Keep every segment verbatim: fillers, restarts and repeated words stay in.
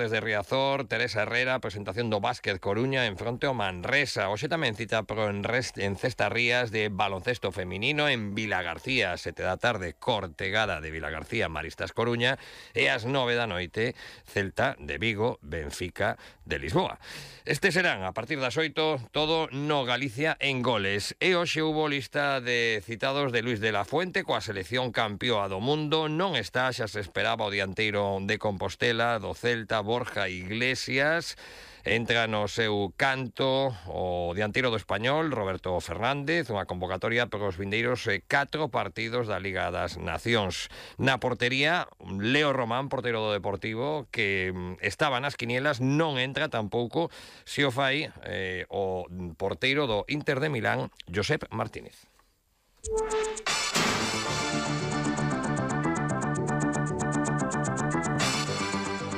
Deportes de Riazor, Teresa Herrera, presentación do Básquet Coruña en fronte ao Manresa. Hoxe tamén cita pro en, rest, en Cesta Rías de baloncesto feminino en Vilagarcía, sete da tarde, Cortegada de Vilagarcía, Maristas Coruña, e ás nove da noite, Celta de Vigo, Benfica de Lisboa. Estes serán, a partir das oito, todo no Galicia en goles. E hoxe hubo lista de citados de Luis de la Fuente coa selección campioa do mundo. Non está, xa se esperaba, o dianteiro de Compostela, do Celta, Borja Iglesias. Entra no seu canto o dianteiro do Español, Roberto Fernández, unha convocatoria para os vindeiros eh, catro partidos da Liga das Nacións. Na portería, Leo Román, porteiro do Deportivo, que mm, estaba nas quinielas, non entra tampouco se o fai eh, o porteiro do Inter de Milán, Josep Martínez.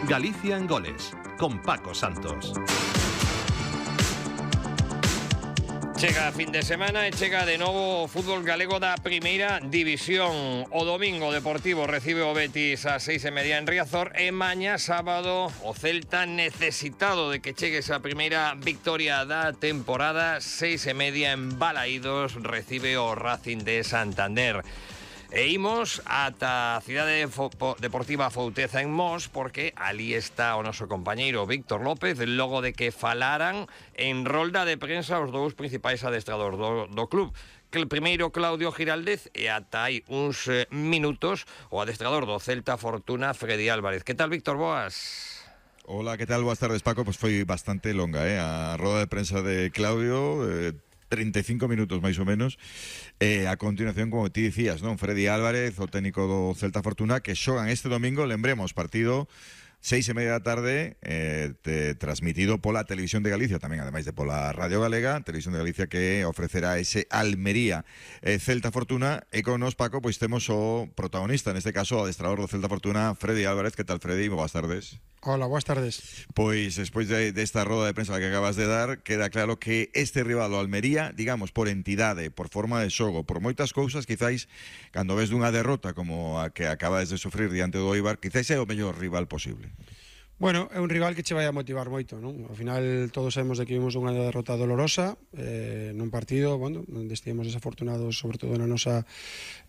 Galicia en goles, con Paco Santos. Chega a fin de semana e chega de novo o fútbol galego da primeira división. O domingo o Deportivo recibe o Betis a seis e media en Riazor e mañá sábado o Celta, necesitado de que chegue esa primeira victoria da temporada, seis e media en Balaídos, recibe o Racing de Santander. E imos ata a cidade deportiva Fouteza en Mos, porque ali está o noso compañeiro Víctor López, logo de que falaran en rolda de prensa os dous principais adestradores do, do club. Que el primeiro, Claudio Giraldez, e ata hai uns eh, minutos o adestrador do Celta Fortuna, Freddy Álvarez. Que tal, Víctor? Boas. Hola, que tal? Boas tardes, Paco. Pois foi bastante longa, eh? A roda de prensa de Claudio... Eh... treinta e cinco minutos máis ou menos. E a continuación, como ti dicías, non? Freddy Álvarez, o técnico do Celta Fortuna, que xogan este domingo, lembremos, partido seis e media da tarde, eh, te, transmitido pola Televisión de Galicia, tamén ademais de pola Radio Galega, Televisión de Galicia, que ofrecerá ese Almería eh, Celta Fortuna. E con nos, Paco, pois temos o protagonista, neste caso o adestrador do Celta Fortuna, Freddy Álvarez. Que tal, Freddy? Boas tardes. Hola, boas tardes. Pois despois de, desta roda de prensa que acabas de dar, queda claro que este rival, o Almería, digamos, por entidade, por forma de xogo, por moitas cousas, quizáis, cando ves dunha derrota como a que acabades de sufrir diante do Eibar, quizáis é o mellor rival posible. Bueno, é un rival que che vai a motivar moito, non? Ao final todos sabemos de que vimos unha derrota dolorosa eh, nun partido, bueno, onde estivemos desafortunados, sobre todo na nosa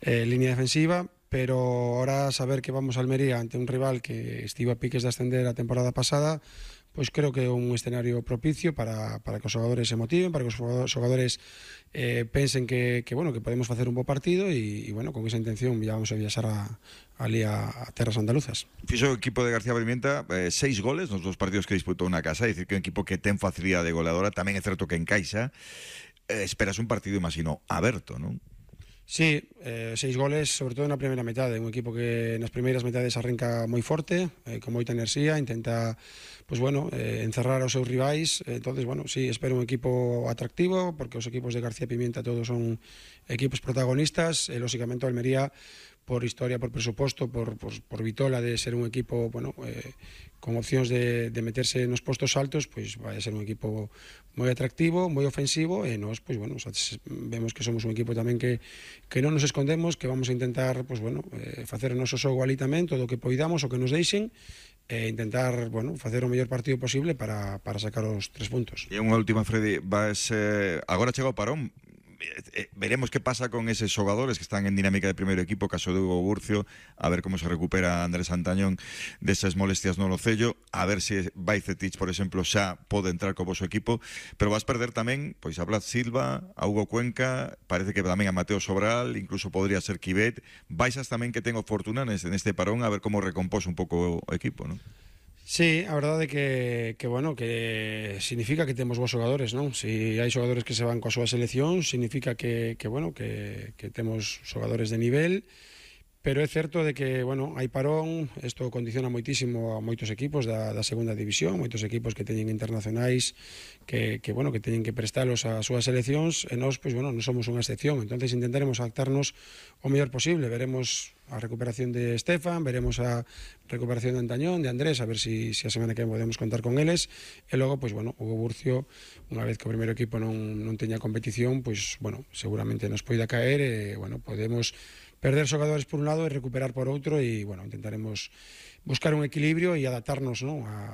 eh, línea defensiva, pero ahora saber que vamos a Almería ante un rival que estivo a piques de ascender a temporada pasada, pois creo que é un escenario propicio para, para que os xogadores se motiven, para que os xogadores eh, pensen que, que, bueno, que podemos facer un bo partido e, e bueno, con esa intención ya vamos a viaxar a, ali a, a terras andaluzas. Fixo o equipo de García Pimienta eh, seis goles nos dos partidos que disputou na casa, é dicir que é un equipo que ten facilidade goleadora, tamén é certo que encaixa. Eh, esperas un partido, imagino, aberto, non? Sí, eh, seis goles, sobre todo na primeira metade, un equipo que nas primeiras metades arranca moi forte, eh, con moita enerxía, intenta, pues bueno, eh, encerrar aos seus rivais. Entonces, bueno, sí, espero un equipo atractivo, porque os equipos de García Pimienta todos son equipos protagonistas, e lóxicamente o Almería, por historia, por presuposto, por, por, por vitola de ser un equipo, bueno, eh, con opcións de, de meterse nos postos altos, pois vai a ser un equipo moi atractivo, moi ofensivo, e nós, pois bueno, vemos que somos un equipo tamén que, que non nos escondemos, que vamos a intentar, pois bueno, eh, facer o noso xogo ali tamén, todo o que poidamos, o que nos deixen, e intentar, bueno, facer o mellor partido posible para, para sacar os tres puntos. E unha última, Freddy, vas, eh, agora chega o parón, eh, veremos que pasa con eses xogadores que están en dinámica de primeiro equipo, caso de Hugo Burcio, a ver como se recupera Andrés Antañón desas molestias no locello, a ver se Bajcetic, por exemplo, xa pode entrar co voso equipo, pero vas perder tamén pois a Blas Silva, a Hugo Cuenca, parece que tamén a Mateo Sobral, incluso podría ser Quivet. Baixas tamén que ten o Fortuna neste, neste parón, a ver como recompós un pouco o equipo, non? Sí, a verdade é que, que, bueno, que significa que temos bons xogadores, non? Si hai xogadores que se van coa súa selección, significa que, que bueno, que, que temos xogadores de nivel, pero é certo de que, bueno, hai parón, isto condiciona moitísimo a moitos equipos da, da segunda división, moitos equipos que teñen internacionais que, que, bueno, que teñen que prestalos ás súas seleccións, e nós, pois, bueno, non somos unha excepción, entonces intentaremos adaptarnos o mellor posible, veremos a recuperación de Estefan, veremos a recuperación de Antañón, de Andrés, a ver si, si a semana que podemos contar con eles, e logo, pois, bueno, Hugo Burcio, unha vez que o primeiro equipo non, non teña competición, pois, bueno, seguramente nos poida caer, e, bueno, podemos perder xogadores por un lado e recuperar por outro, e, bueno, intentaremos buscar un equilibrio e adaptarnos, ¿no?, a,